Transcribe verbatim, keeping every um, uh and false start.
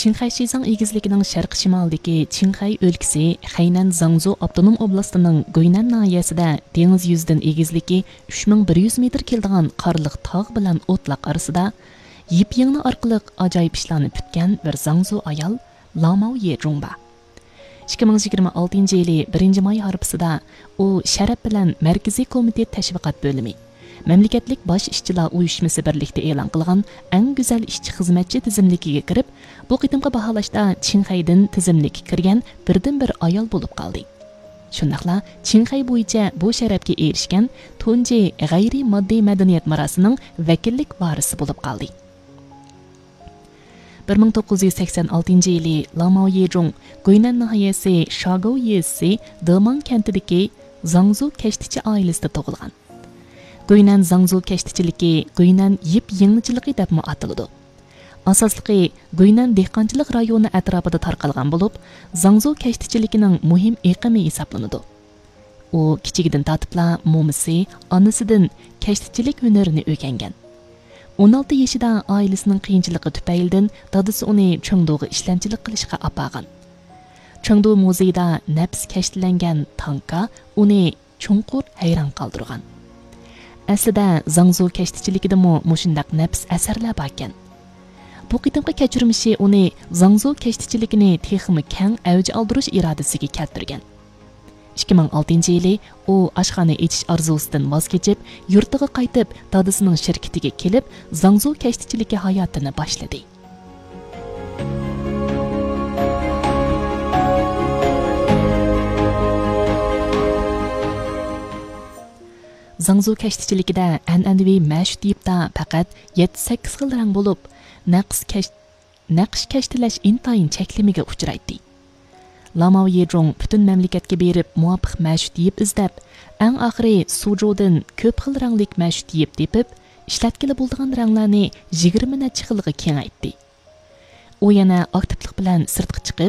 چىڭخەي شىزاڭ ئېگىزلىكىنىڭ شەرقىي شىمالىدىكى چىڭخەي ئۆلكىسى خەينەن زاڭزۇ ئاپتونوم ئوبلاستىنىڭ گۇينەن ناھىيەسىدە دېڭىز يۈزىدىن ئېگىزلىكى ئۈچ مىڭ بىر يۈز مېتىر كېلىدىغان قارلىق تاغ بىلەن ئوتلاق ئارىسىدا يىپ يىڭنە ئارقىلىق ئاجايىپ ئىشلارنى پۈتكەن بىر زاڭزۇ ئايال لاماۋ يېجۇڭ بار. ئىككى مىڭ يىگىرمە ئالتىنچى يىلى بىرىنچى ماي ھارپىسىدا ئۇ شەرەپ بىلەن مەركىزىي كومىتېت تەشۋىقات بۆلۈمى، مەملىكەتلىك باش ئىشچىلار ئۇيۇشمىسى بىرلىكتە ئېلان قىلغان ئەڭ گۈزەل ئىشچى خىزمەتچى تىزىملىكىگە كىرىپ، بۇ قېتىمقى باھالاشتا چىڭخەيدىن تىزىملىككە كىرگەن بىردىنبىر ئايال بولۇپ قالدى. شۇنداقلا چىڭخەي بويىچە بۇ شەرەپكە ئېرىشكەن تۇنجى غەيرىي ماددىي مەدەنىيەت مىراسىنىڭ ۋەكىللىك ۋارىسى بولۇپ قالدى. بىر مىڭ توققۇز يۈز سەكسەن ئالتىنچى يىلى لاماۋ يېجۇڭ گۇينەن ناھىيەسى شاگوۋ يېزىسى دېماڭ كەنتىدىكى زاڭزۇ كەشتىچى ئائىلىسىدە تۇغۇلغان. گۇينەن زاڭزۇ كەشتىچىلىكى گۇينەن يىپ يىڭنىچىلىقى دەپمۇ ئاتىلىدۇ. ئاساسلىقى گۇينەن دېھقانچىلىق رايونى ئەتراپىدا تارقالغان بولۇپ، زاڭزۇ كەشتىچىلىكىنىڭ مۇھىم ئېقىمى ھېسابلىنىدۇ. ئۇ كىچىكىدىن تارتىپلا مومىسى، ئانىسىدىن كەشتىچىلىك ھۈنىرىنى ئۆگەنگەن. ئون ئالتە يېشىدا ئائىلىسىنىڭ قىيىنچىلىقى تۈپەيلىدىن دادىسى ئۇنى چېڭدۇغا ئىشلەمچىلىك قىلىشقا ئاپارغان. چېڭدۇ مۇزېيىدا نەپىس كەشتىلەنگەن تانكا ئۇنى چوڭقۇر ھەيران قالدۇرغان. ئەسلىدە زاڭزۇ كەشتىچىلىكىدىمۇ مۇشۇنداق نەپىس ئەسەرلەر باركەن. بۇ قېتىمقى كەچۈرمىشى ئۇنى زاڭزۇ كەشتىچىلىكىنى تېخىمۇ كەڭ ئەۋج ئالدۇرۇش ئىرادىسىگە كەلتۈرگەن. ئىككى مىڭ ئالتىنچى يىلى ئۇ ئاشخانا ئېچىش ئارزۇسىدىن ۋاز كېچىپ، يۇرتىغا قايتىپ، دادىسىنىڭ شىركىتىگە كېلىپ، زاڭزۇ كەشتىچىلىكى ھاياتىنى باشلىدى. زاڭزۇ كەشتىچىلىكىدە ئەنئەنىۋى مەشۇت يىپتا پەقەت يەتتە-سەككىز خىل رەڭ بولۇپ، نەقىش كەش-، نەقىش كەشتىلەش ئىنتايىن چەكلىمىگە ئۇچرايتتى. لاماۋ يېجۇڭ پۈتۈن مەملىكەتكە بېرىپ مۇۋاپىق مەشۇت يىپ ئىزدەپ، ئەڭ ئاخىرى سۇجۇدىن كۆپ خىل رەڭلىك مەشۇت يىپ تېپىپ، ئىشلەتكىلى بولىدىغان رەڭلەرنى يىگىرمە نەچچە خىلغا كېڭەيتتى. ئۇ يەنە ئاكتىپلىق بىلەن سىرتقا چىقىپ،